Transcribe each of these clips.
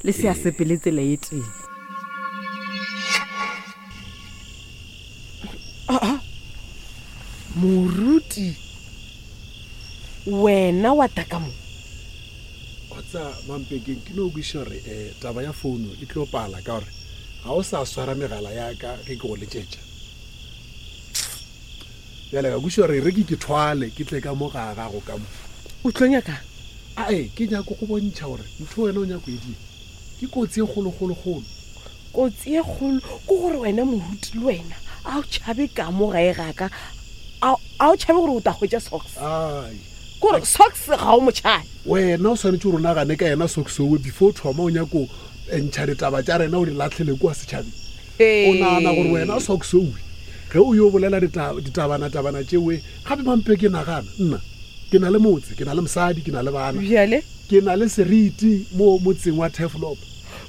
Le se a sepele tsela e tee. Aa, moruti, wena wa tla ka mo? Wa tseba, Mampekeng, ke no kwešiša gore um taba ya founo e tlo pala ka gore ga o sa swara megala ya ka ge ke go letšetša. Bjale ka kwešiša gore e re ke ke thwale ke tle ka mo ga gago ka mo. O tlo nyakang? Ae, ke nyako go bontšha gore ntho wena o nyako e dira ke kotsi e kgolokgolokgolo. Kotsi e kgolo ke gore wena moruti le wena a o tšhabe ka mo gae ga ka, a o tšhabe gore o tla hwetša Socks? Ai. Ke gore Socks ga o mo tšhabe. Wena o swanetše gore o nagane ka yena Socks owe before o thoma o nyako ntšha ditaba tša rena o di lahlele kua setšhabeng. O nagana gore wena Socks owe ge o yo bolela ditabana-tabana tšewe gape mampe ke nagana nna ke na le motse, ke na le mosadi, ke na le bana. Bjale? Ke na le seriti mo motseng wa Turfloop.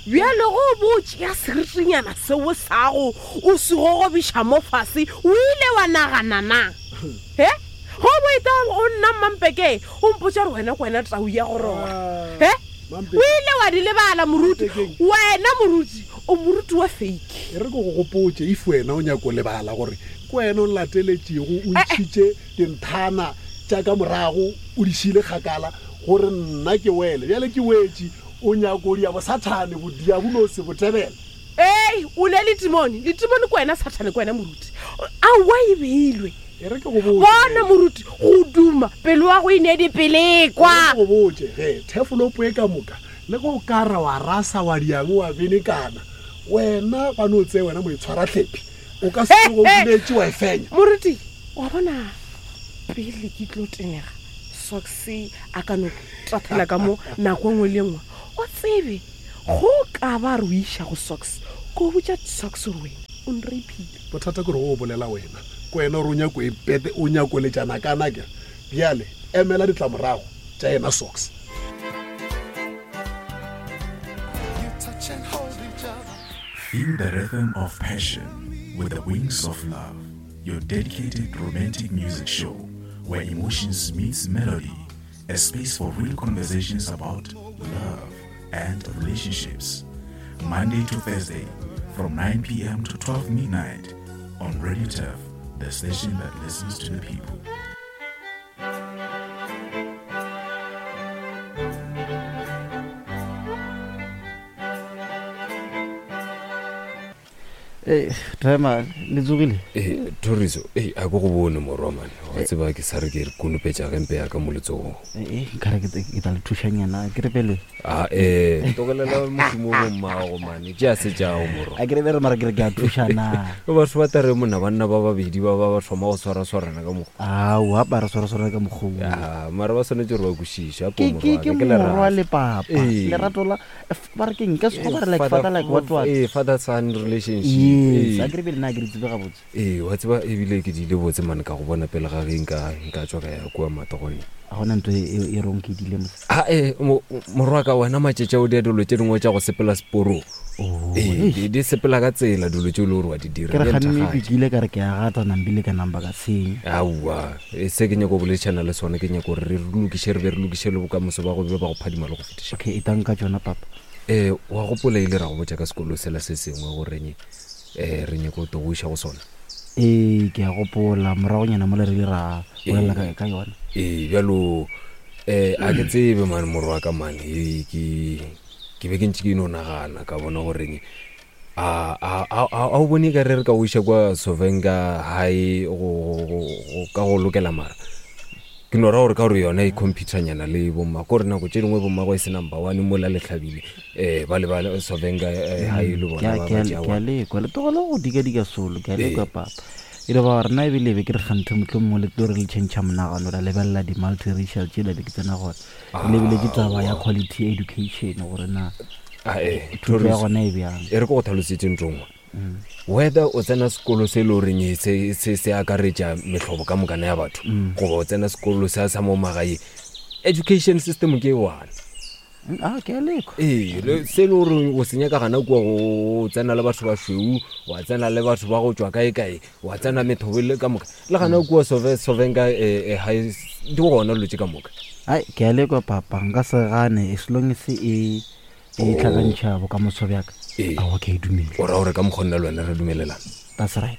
Bjale ge o bo o tšea seritinyana seo sago o se gogobiša mo fase, o ile wa nagana na? He? Ge o bo eta go nna Mmampeke, o mpotša gore wena ke wena tau ya go rora. He? O ile wa di lebala moruti. Wena moruti, o moruti wa fake. E re ke go gopotše, if wena o nyako lebala gore ke wena o nlateletšego, o ntšhitše dinthana tša ka morago, o di šiile kgakala gore nna ke wele. Bjale ke wetše. O nyako dia bosathane, bodiabolosi, botebele. Ei, o ne letimone. Letimone ke wena, Sathane ke wena, moruti. Aowa, e beilwe. E re ke go botše. Bona, moruti, go duma, pelo ya go e ne dipelekwa. E re ke go botše, ge, thefolopo e ka moka, le ge o ka ra wa rasa, wa diang, wa benekana, wena ba no tsea wena moitshwarahlephi, o ka se tsoge o boletše wa e fenya. Moruti, wa bona, pele ke tlo tenega, Socks a ka no tathela ka mo nako e nngwe le e nngwe. O tsebe, go ka ba re o iša go Socks, ko botša Socks gore wena o nraphile. Bothata ke gore go bolela wena, ke wena gore o nyako e pete, o nyako letšana kana ke re. Bjale emela ditlamorago tša yena Socks. Feel the rhythm of passion with the wings of love. Your dedicated romantic music show where emotions meets melody, a space for real conversations about love and relationships. Monday to Thursday from 9 p.m. to 12 midnight on Radio Turf, the station that listens to the people. Ee, driver le tsogile ee thoriso ee a ko go bone morwa mane wa tseba ke sa re ke re konopetša gempe ya ka mo letsogong ee nkare ke ke tla le thušanyana ke re pele a ee tlogelela mošomo bo mmago mane tšea se tšago morwa a ke re bere mara ke re ke a thušana batho ba tare mona banna ba babedi ba ba ba thoma go swaraswarana ka mokgwa aowa ba re swaraswarana ka mokgwa Ya, mara ba swanetše gore ba kwešiše ke ke ke morwa le papa lerato la ba re keng ka sekgowa ba re like father like what what ee father son relationship yes a ke re bele nna ke re tsebe gabotse ee wa tseba ebile ke diile botse mane ka go bona pele ga ge nka nka tswa ka ya kua matogone ga gona ntho e, e rong ke dile mos a e morwaka wena matšetša o dia dilo tše dingwe tša go sepela seporong oh, ee di sepela ka tsela dilo tše o le gore wa di dira ke re ganne ke ile ka re ke a gata nambile ka namba ka senya aowa e se ke nyako boledišana le sone ke nyako gore re lokiše re be re lokiše le bokamoso ba go be ba go phadima le go fetiša okay e tang ka tšona papa um wa gopola ile ra go botša ka sekolo sela se sengwe goreng um re nyako to go iša go sona ee ke a gopola moragonyana mo le re ile ra bolela ka- ka yona ee bjalo um a ke tsebe mane morwa ka mane ee ke ke be ke ntše ke no nagana ka bona goreng a a a a o bone ka re re ka o iša kwa sovenka high go go- go- ka go lokela mara Ke no ra gore ka gore yona e computernyana le bomma ko re nako tše dingwe bommago e se number one mola le hlabile um ba le ba Sovenga eh, high le bona ba ke ba a tšea ke a one. lekwa le tlogele go dikadika solo ke a lekwa papa e le ba rena ebile be ke re kganthe motlho mongwe le tlo re le change monagano ra lebelela di-multiracial tšela be ke tsena gore re lebeletše taba ya quality education gore na Ah, eh, thuto ya Thoriso, gona e bjang e re ke go tlhalosetse ntho nngwe whether o tsena sekolo se e le goreng se, se, se akaretša mehlobo ka mokana ya batho mm. goba o tsena sekolo sa sa mo magaeng education system ke e one mm, ah, ke a lekwa ee se e le gore o se nyaka gana kua go tsena le batho ba šweu wa tsena le batho ba go tšwa kae kae wa tsena methobo le ka moka le gana mm. kua sovenka eh, eh, ga di gona dilo tše ka moka ai ke a lekwa papa nka se gane as long as e E tlhakantšha bokamoso bjaka. Ee. Aowa, ke a e dumela. O ra gore ka mokgwa nna le wena re dumelelana? That's right.